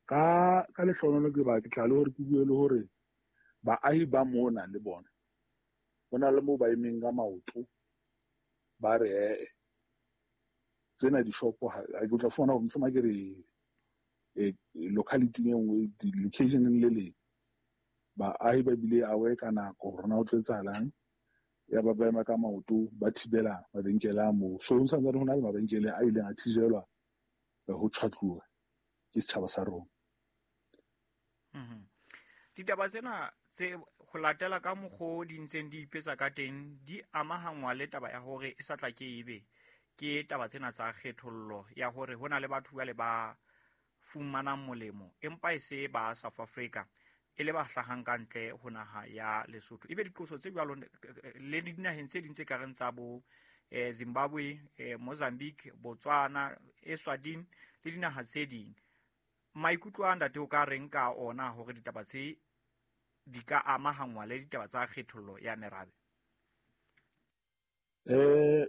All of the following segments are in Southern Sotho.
Ka lehlohonolo ke ba ke tla le hore ke bue le hore baahi ba mona le bona ho na le moo ba emeng ka maoto, ba re ee tsena dishopo ha ke tla fumana hore mohlomong ke re locality e nngwe, locationeng le leng, baahi ba bile aware ka nako hore na ho tlo etsahalang. Ya ba ba ema ka maoto, ba thibela mabenkele a moo. So ho santsane ho na le mabenkele a ileng a thijelwa ho tjhwatluwa ke setjhaba sa rona. Ditaba tsena tse ho latela ka mokgo di ntseng di ipetsa ka teng di amahangwa le taba ya hore e sa tla ke ebe ke taba tsena tsa kgethollo ya hore ho na le batho jwale ba fumanang molemo empa e se ba South Africa, e le ba hlahang ka ntle ho naha ya Lesotho. Ebe diqoso tse jwalo le dinaheng tse ding tse kareng tsa bo Zimbabwe, Mozambique, Botswana, Eswatini le dinaha tse ding. Maikutlo a ntate o ka reng ka ona hore ditaba tse di ka amahangwa le ditaba tsa kgethollo ya merabe?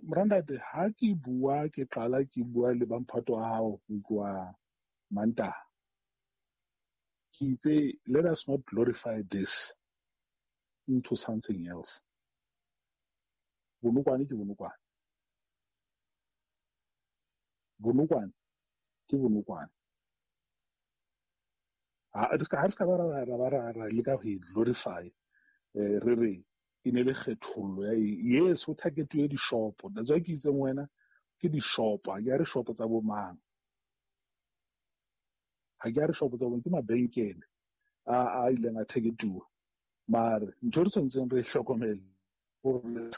Morandate, ha ke bua ke qala ke bua le bamphato wa hao ho tloha Mantaha, ke itse let us not glorify this into something else. Bonokwane ke bonokwane, bonokwane ke bonokwane. Ha re ska ba ra leka ho e glorify, re re e ne le kgethollo ya yes, ho targetuwe dishopo. That's why ke itseng wena ke dishopo, ha ke a re shopo tsa bo mang, ha ke a re shopo tsa bo, ke mabenkele a ileng a targetuwa. Mare ntho e re tshwanetseng re e hlokomele hore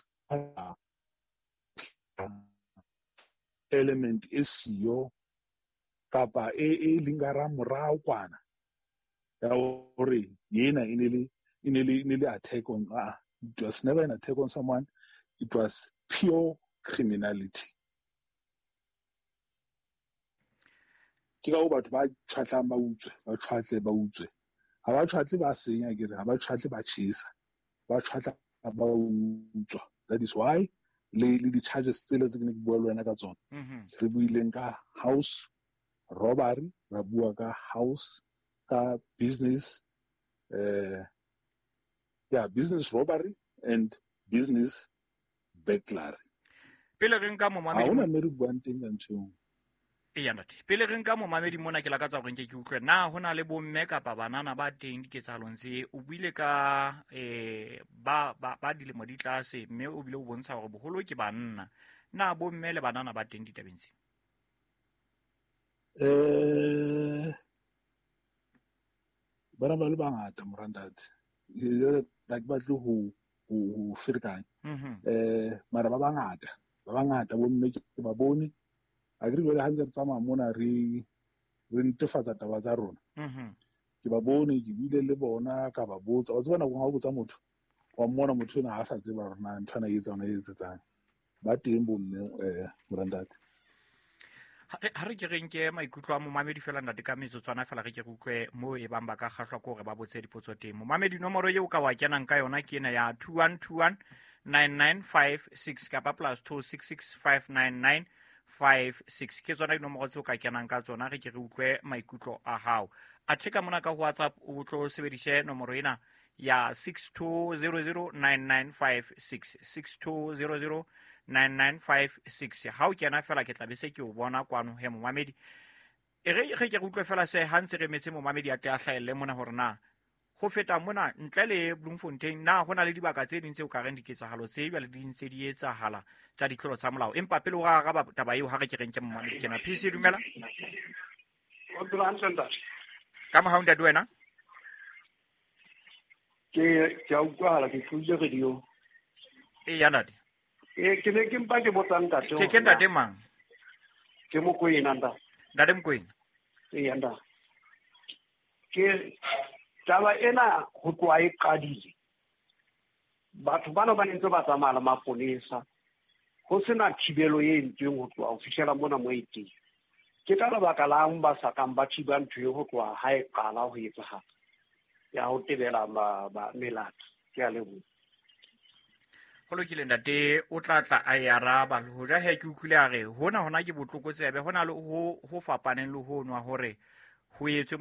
element e siyo kapa e leng ka hara morao kwana ya hore ena e ne le attack on, it was never an attack on someone, it was pure criminality. Ke ka ho batho ba tjhwatlang ba utswe, ba tjhwatle ba utswe. Ha ba tjhwatle ba senya, ke re ha ba tjhwatle ba tjhesa, ba tjhwatla ba utswa. That is why le di-charges tsele tse ke ne ke bua le wena ka tsona. Re buileng ka house robbery, ra bua ka house, ka business, business robbery and business burglary. Pele re nka momamedi, ha hona mme re buang teng ka ntho eo. Eya ntate, pele re nka momamedi mona ke lakatsa hore nke ke utlwe na ho na le bomme kapa banana ba teng diketsahalong tse. O buile ka ba dilemo di tlase, mme o bile o bontsha hore boholo ke banna. Na bomme le banana ba teng ditabeng tse? Bana ba le bangata morantate, ha ke batle ho ferekanya. Mara ba bangata bomme ke ba bone. Ha ke re jwale ha ntse re tsamaya mona re netefatsa taba tsa rona. Ke ba bone, ke buile le bona, ka ba botsa. Wa tseba nako ha o botsa motho, wa mmona motho ena ha sa tseba hore na ntho ena e etsa ona e etsetsang. Ba teng bomme, morantate. Ha re ke re nke maikutlo a momamedi fela ntate ka metsotswana fela, re ke re utlwe moo e bang ba ka kgahlwa ke hore ba botse dipotso teng. Momamedi, nomoro eo ka wa kenang ka yona ke ena ya 21219956 kapa +26659956. Ke tsona dinomoro tseo ka kenang ka tsona, re ke re utlwe maikutlo a hao. Athe ka mona ka WhatsApp o tlo sebedise nomoro ena ya 62009956, 62009956. Ha o kena fela ke tla be se ke o bona kwano he momamedi. E re ke re utlwe fela se ha ntse re metse momamedi a tle a hlahelle mona hore na ho feta mona ntle le Bloemfontein na ho na le dibaka tse ding tseo ka reng diketsahalo tse jwale di ntse di etsahala tsa ditlolo tsa molao. Empa pele o araba taba eo, ha re ke re nke momamedi kena. PC, dumela. Ka mohau ntate wena. Ke a utlwahala, ke tlodile radio. Eya ntate. Ke ne ke mpa ke botsa ntate. Ke ntate mang? Ke Mokoena ntate. Ntate Mokoena. Eya ntate. Ke taba ena ho tloha e qadile. Batho bana ba ntse ba tsamaya le maponesa, ho sena thibelo e entsweng ho tloha ho fihlela mona mo e teng. Ke ka lebaka lang ba sa kang ba thiba ntho e ho tloha ha e qala ho etsahala ya ho tebela melato. Ke a leboha. Ho lokile ntate, o tla tla a e araba. Le hoja he ke utlwile a re hona ke botlokotsebe, hona le ho fapaneng le ho nwa hore ho etswe